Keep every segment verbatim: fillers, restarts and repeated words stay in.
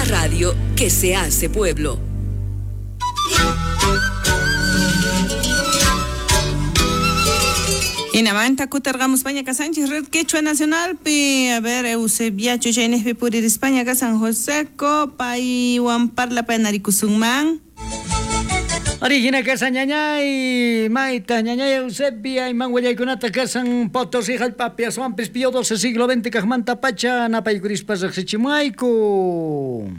radio que se hace pueblo. Hinamanta kutarqamuspaña kasanchis Red Quechua Nacionalpi. A ver, Eusebia Chuchaynejpi puririspaña ka San Joseco, paywan parlapanarikusunman. Origina kasan ñañay, mayta ñañay Eusebia, iman willaykunata kasan Potosí hallp'api aswanpis Pío doce siglo veinte kaqmanta pacha napaykurispa riqsichimuayku.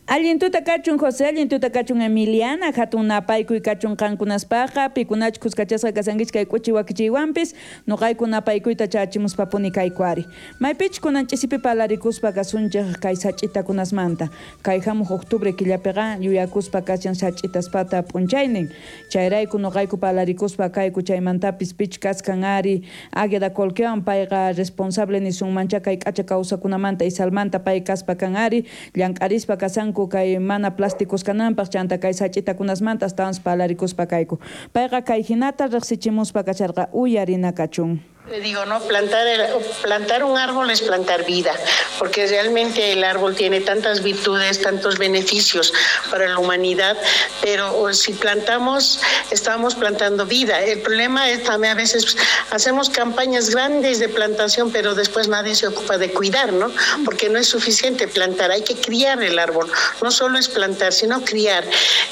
Allin tuta kachun José, allin tuta kachun Emiliana, hatun napaykuy kachun qankunaspaqa, pikunach kuskachasqa kasankichik kay k'uchi wakichiywanpis, nuqayku napaykuyta chachimuspapuni kayku ari. Maypich kunan ch'isipi palarikuspa kasunchik kay sach'itakunasmanta, kay hamuq octubre killapiqa yuyakuspa kashan sach'itaspata p'unchaynin, chayrayku nuqayku palarikuspa kayku chaymantapis pich kaskan ari Águeda Colquewan payqa responsable nisunmancha kay k'acha kawsakunamanta Isalmanta pay kaspa kan ari, llank'arispa kasanku kay mana plásticos kananpaq chanta kay sach'itakunasmanta astawan palarikuspa kayku. Payqa kay hinata riqsichimuspa kasharqa uyarina kachun. Le digo, no, plantar, el, plantar un árbol es plantar vida, porque realmente el árbol tiene tantas virtudes, tantos beneficios para la humanidad, pero si plantamos, estamos plantando vida. El problema es también a veces hacemos campañas grandes de plantación, pero después nadie se ocupa de cuidar, ¿no? Porque no es suficiente plantar, hay que criar el árbol. No solo es plantar, sino criar.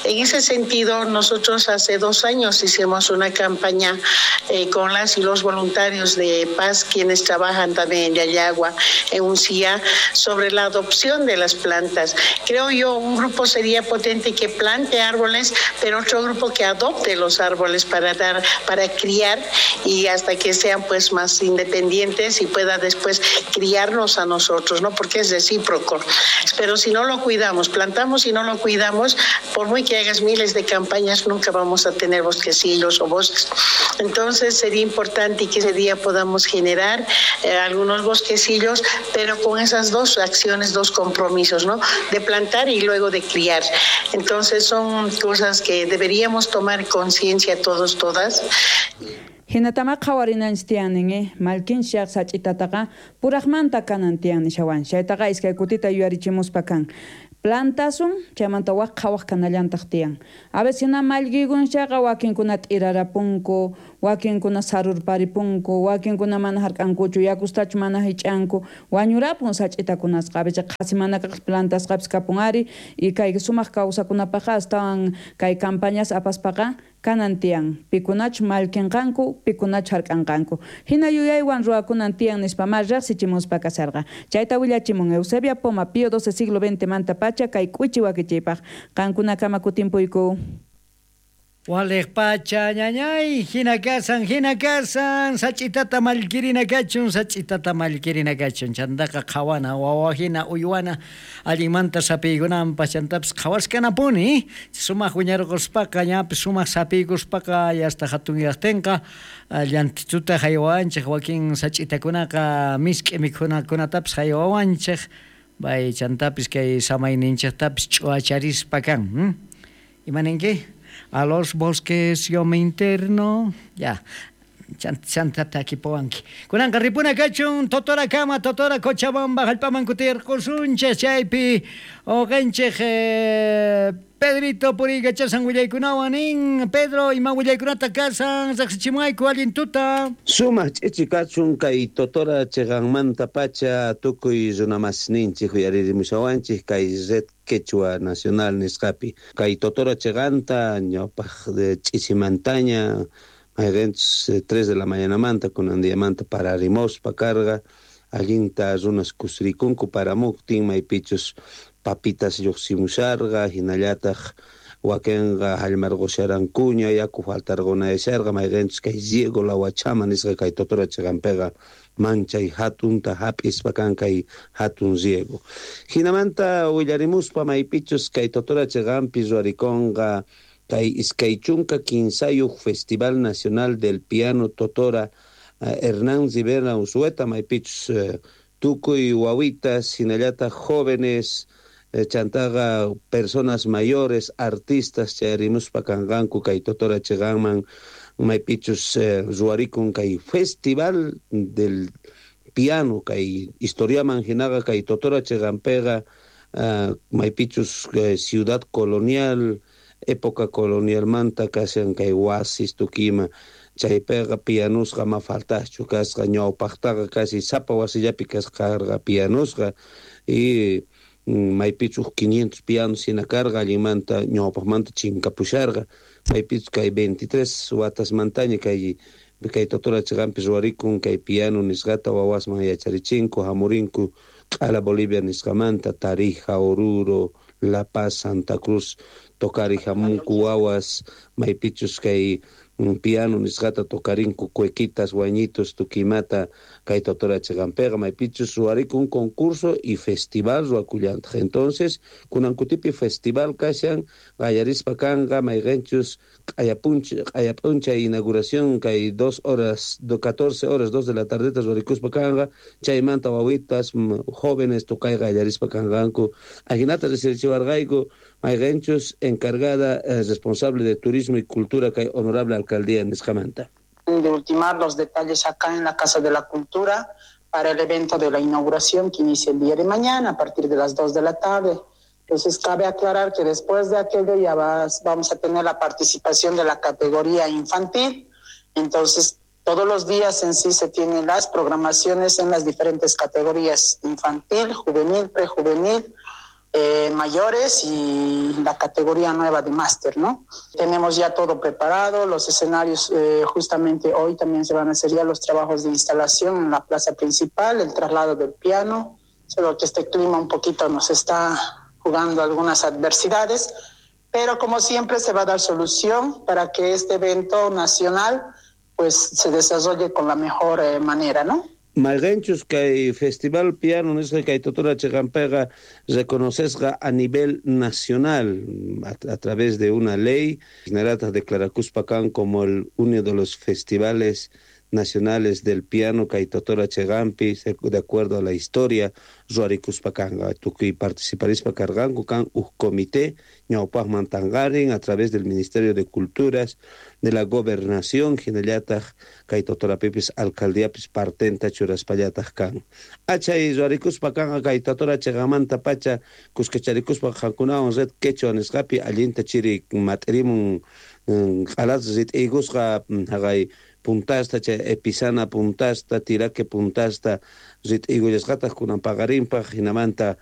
En ese sentido, nosotros hace dos años hicimos una campaña eh, con las y los voluntarios de paz, quienes trabajan también en Llallagua, en Uncía, sobre la adopción de las plantas. Creo yo, un grupo sería potente que plante árboles, pero otro grupo que adopte los árboles para dar, para criar y hasta que sean pues más independientes y pueda después criarnos a nosotros, ¿no? Porque es recíproco. Pero si no lo cuidamos, plantamos y no lo cuidamos, por muy que hagas miles de campañas, nunca vamos a tener bosquecillos o bosques. Entonces sería importante que ese día podamos generar eh, algunos bosquecillos, pero con esas dos acciones, dos compromisos, ¿no? De plantar y luego de criar. Entonces son cosas que deberíamos tomar conciencia todos, todas. Hinatama qhawarinanchik tiyanin, eh? Malkinshaq sach'itataqa puraqmanta kanan tiyan nishawan. Chaytaqa iskay kutita yuyarichimuspa kan. Plantasun, chaymanta waq qhawaq kanallantaq tiyan. A veces hina mallkikunchaqa wakinkuna t'irarapunku, wakinkuna sarurparipunku, wakinkuna mana hark'ankuchu, yakustachu mana hich'anku, wañurapun sach'itakunasqa. A veces qhasi mana kaq plantasqapis kapun ari, y kay sumaq kawsakunapaqqa astawan kay campañas apaspaqa kanan tiyan, pikunachu mallkinqanku, pikunachu hark'anqanku. Hina yuyaywan ruwakunan tiyan nispa ma riqsichimuspa kasarqa. Chayta willachimun Eusebia Poma, Pío doce siglo veinte manta pacha kay k'uchi wakichiypaq. Qankunakama kutimpuyku. Waliq pacha ñañay, hina kasan, hina kasan, sach'itata mallkirina kachun, sach'itata mallkirina kachun, chantaqa qhawana, wawa hina uywana, allinmanta sapiykunanpaq, chantapis qhawaskanapuni, sumaq wiñarquspaqa, ñapis sumaq sapiykuspaqa, yasta hatunyaqtinqa, llantituta haywawanchik, wakin sach'itakunaqa misk'i mikhunakunatapis haywawanchik, bay chantapis kay samayninchiktapis ch'uacharispa kan. Hmm? Imaninki? A los bosques yo me interno. Ya. Chantata kipowanki. Kunanqa ripuna kachun Totora kama, Totora Cochabamba, hallp'aman kutirqusunchik chaypi uqanchik eh, Pedrito puriykachasan willaykunawan nin. Pedro, ima willaykunata kasan riqsichimuayku allin tuta. Sumaq ch'ichi kachun kay Totora chiqanmanta pacha tukuy runamasninchik uyaririmushawanchik kay Red Quechua Nacional nisqapi. Kay Totora chiqanta ñawpaq ch'ichimantaña mayqinchus tres de la mañanamanta kunan diamanta pararimospa karqa allinta runas kusirikunku paramuktin maypichus papitas lluqsimusharqa hinallataq wakinqa hallmarqusharankuña yaku faltarqunayasharqa mayqinchus kay riego lawachama nisqa kay Totora chiqanpiqa manchay hatunta hap'ispa kan kay hatun riego. Hinamanta willarimuspa maypichus kay Totora chiqanpi ruwarikunqa kay iskay chunka kinsayuq Festival Nacional del Piano Totora Hernán Rivera Unzueta maypichus tukuy wawitas hinallataq jóvenes chantaqa personas mayores, artistas chayarimuspa kanqanku kay Totora chiqanman maypichus ruwarikun kay Festival del Piano kay historiaman hinaqa kay Totora chiqanpiqa uh, maypichus uh, ciudad colonial época colonialmanta kashan kay wasis tukima chaypiqa pianusqa ma faltaschu kasqa ñawpaqtaqa casi sapa wasillapi kasqarqa pianusqa y maypichus uj quinientos pianos hina karqa allinmanta ñawpaqmanta chinkapusharqa maypichus kay veintitrés watasmantaña kay kay Totora chiqanpi ruwarikun kay piano nisqata wawasman yacharichinku hamurinku q'ala Bolivia nisqamanta Tarija, Oruro, La Paz, Santa Cruz tocari hamunku wawas maypichus kay piano nisqata tocarinku cuequitas, huayñitos, tukimata kay Totora chiqanpiqa maypichus ruwarikun concurso y festival ruwakullantaq. Entonces kunan kutipi festival kashan qallarispa kanqa mayqinchus q'ayapunch q'ayap'unchay inauguración kay dos horas do catorce horas dos de la tardeta ruwarikuspa kanqa chaymanta wawitas jóvenes tocay qallarispa kanqanku ajinata riqsirichiwarqayku mayqinchus encargada eh, responsable de turismo y cultura kay honorable alcaldía nisqamanta. De ultimar los detalles acá en la Casa de la Cultura para el evento de la inauguración que inicia el día de mañana a partir de las dos de la tarde. Entonces, cabe aclarar que después de aquello ya vas, vamos a tener la participación de la categoría infantil. Entonces, todos los días en sí se tienen las programaciones en las diferentes categorías: infantil, juvenil, prejuvenil, eh, mayores y la categoría nueva de máster, ¿no? Tenemos ya todo preparado, los escenarios, eh, justamente hoy también se van a hacer ya los trabajos de instalación en la plaza principal, el traslado del piano, solo que este clima un poquito nos está jugando algunas adversidades, pero como siempre se va a dar solución para que este evento nacional pues se desarrolle con la mejor eh, manera, ¿no? Mayqinchus kay festival piano nisqa kay Totora chiqanpiqa reconocisqa a nivel nacional a, a través de una ley hinallataq declarakuspa kan como el uno de los festivales nacionales del piano kay Totora chiqanpi de acuerdo a la historia ruwarikuspa kanqa tukuy participarispa karqanku kan uj comité ñawpaqman tanqarin a través del Ministerio de Culturas de la Gobernación hinallataq kay Totorapipis alcaldiapis partenta churaspallataq kan achay ruwarikuspa kanqa kay Totora chiqanmanta pacha kuskacharikuspa qankunawan Red Quechua nisqapi allinta chiri mat'irimun q'alat rit'iykusqa haqay puntasta chay Epizana puntasta Tiraque puntasta rit'iykullasqataq kunan paqarinpaq hinamanta.